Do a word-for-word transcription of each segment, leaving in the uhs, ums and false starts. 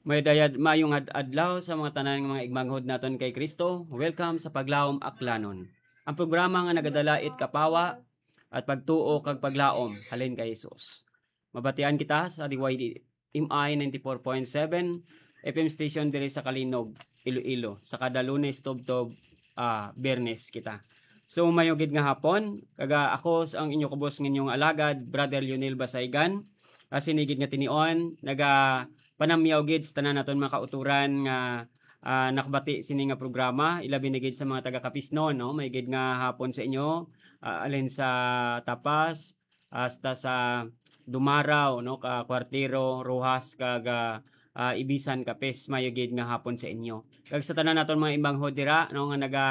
May dayad mayong ad- adlaw sa mga tanan nga mga igmanghod naton kay Kristo. Welcome sa Paglaom Aklanon, ang programa nga nagadala it kapawa at pagtuo kag paglaom halin kay Jesus. Mabatian kita sa D Y D M I ninety-four point seven F M station diri sa Calinog, Iloilo, sa kada Lunes tubtob ah, Biyernes kita. So, mayo gid nga hapon, kaga ako sa ang inyo kubos nga inyong alagad, Brother Lionel Basaygan. Ah, sini gid nga tinion, naga panamyaw gid sa tanan naton mga kauturan nga ah, nakabati sini nga programa, ilabi na gid sa mga taga Capisnon, no? May gid nga hapon sa inyo, ah, alin sa Tapas hasta sa Dumaraw, no? Ka Cuartero, Roxas, kag ah, ah, Ibisan, Capiz, mayo gid nga hapon sa inyo. Kag sa tanan naton mga imanghod dira, no, nga naga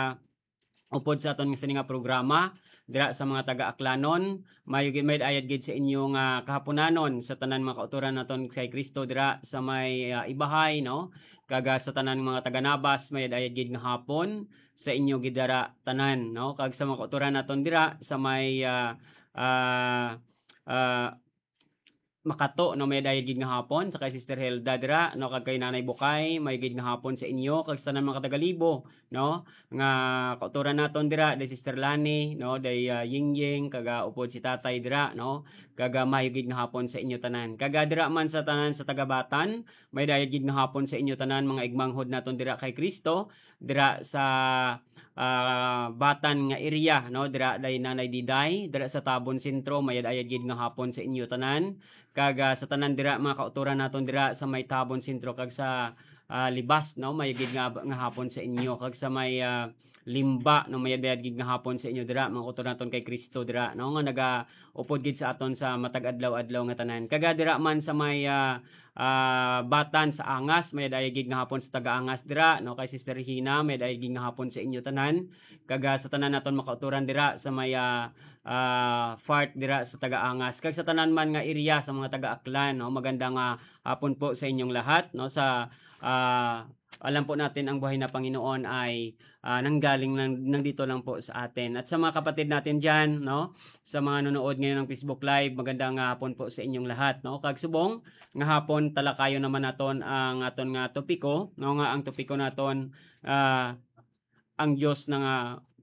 upod sa aton nga sini nga programa dira sa mga taga-Aklanon. Mayo gid, may ayad gid sa inyo nga kahaponanon sa tanan mga kauturan naton kay Kristo dira sa may ah, Ibahay, no? Kag ah, sa tanan mga taga-Nabas, may ayad gid nga hapon sa inyo gid dira tanan, no? Kag sa mga kauturan naton dira sa may ah, ah, ah, Makato, no, may dayad gid nga hapon sa kay Sister Helda dira, no, kag kay Nanay Bukay, may gid nga hapon sa inyo, kag sa tanan mga taga-Libo, no, nga kauturan naton dira, day Sister Lani, no, day ah, Yingying, kag ah, upod si Tatay dira, no, kag ah, may gid nga hapon sa inyo tanan. Kag ah, dira man sa tanan sa taga-Batan, may dayad gid nga hapon sa inyo tanan, mga igmanghod naton dira kay Kristo, dira sa ah, Batan nga area, no, dira day Nanay Diday, dira sa Tabon Sentro, may ayad gid nga hapon sa inyo tanan. Kag ah, sa tanan dira mga kauturan naton dira sa may Tabon Sentro kag sa ah, Libas, no, may gid nga, nga hapon sa inyo, kag sa may ah, Limba, no, may ayad gid nga hapon sa inyo dira mga kauturan naton kay Kristo dira, no, nga nagaupod gid sa aton sa matag adlaw-adlaw nga tanan. Kag ah, dira man sa may ah, ah, Batan sa Angas, may dayag gid nga hapon sa taga-Angas dira, no, kay Sister Regina, may dayag gid nga hapon sa inyo tanan. Kag ah, sa tanan naton makauturan dira sa may ah, ah, fart dira sa taga-Angas, kag sa tanan man nga area sa mga taga-Aklan, no, maganda nga hapon po sa inyong lahat, no, sa ah, alam po natin ang buhay na Panginoon ay ah, nanggaling lang, nandito lang po sa atin. At sa mga kapatid natin dyan, no, sa mga nanonood ngayon ng Facebook Live, magandang ah, hapon po sa inyong lahat, no? Kag subong nga hapon, talakayon naman naton ang aton nga topiko, no, nga ang topiko naton ah, ang Dios na nga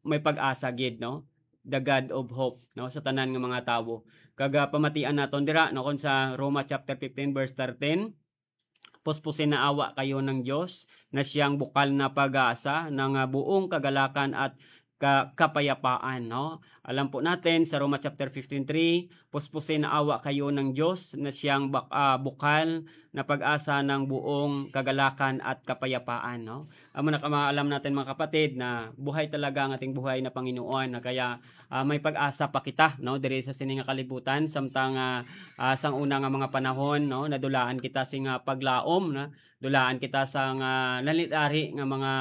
may pag-asa gid, no? The God of hope, no, sa tanan nga mga tawo. Kag ah, pamatian naton dira, no, kung sa Roma chapter fifteen verse thirteen, puspusin na awa kayo ng Dios, na siyang bukal na pag-asa ng ah, buong kagalakan at ka- kapayapaan, no? Alam po natin sa Roma chapter fifteen three, puspusin na awa kayo ng Dios, na siyang bak- ah, bukal na pag-asa ng buong kagalakan at kapayapaan, no? Amo na kamaalam natin, mga kapatid, na buhay talaga ang ating buhay na Panginoon, na kaya ah, may pag-asa pa kita, no, diri sa sini nga kalibutan, samtang ah, ah, sang una nga mga panahon, no, nadulaan kita sing ah, paglaom, na dulaan kita sang ah, nalit-ari nga mga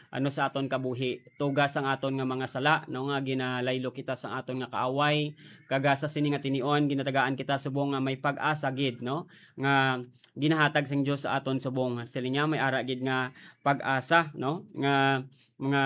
ano sa aton kabuhi, tuga sang aton nga mga sala, no, nga ginalaylo kita sang aton nga kaaway, kag ah, sa sini nga tinion ginatagaan kita subong nga may pag-asa gid, no, nga ginahatag sang Dios sa aton subong. Siling niya may ara gid nga pag-asa, no, nga mga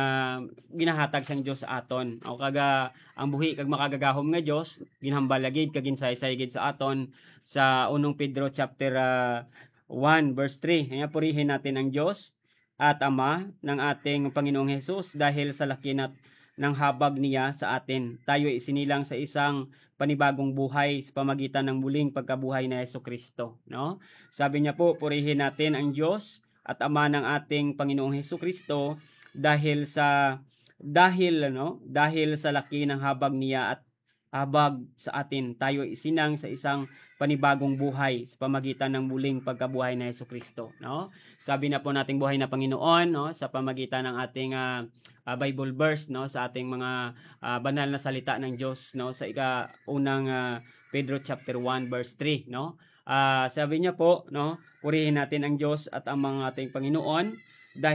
ginahatag sang Dios sa aton. O kag ah, ang buhi kag makagagahom nga Dios, ginhambal na gid kag ginsaysay gid sa aton sa unong Pedro chapter ah, one verse three. Kaya purihin natin ang Dios at Ama ng ating Panginoong Jesus dahil sa laki na ng habag niya sa atin. Tayo isinilang sa isang panibagong buhay sa pamagitan ng muling pagkabuhay ni Jesucristo, no? Sabi niya po, purihin natin ang Dios at Ama ng ating Panginoong Jesucristo dahil sa dahil ano dahil sa laki ng habag niya at habag sa atin, tayo isinang sa isang panibagong buhay sa pamagitan ng muling pagkabuhay ni Jesucristo, no? Sabi na po nating buhay na Panginoon, no, sa pamagitan ng ating ah, ah, Bible verse, no, sa ating mga ah, banal na salita ng Diyos, no, sa ika unang ah, Pedro chapter one verse three, no? Ah, sabi niya po, no, purihin natin ang Diyos at ang mga ating Panginoon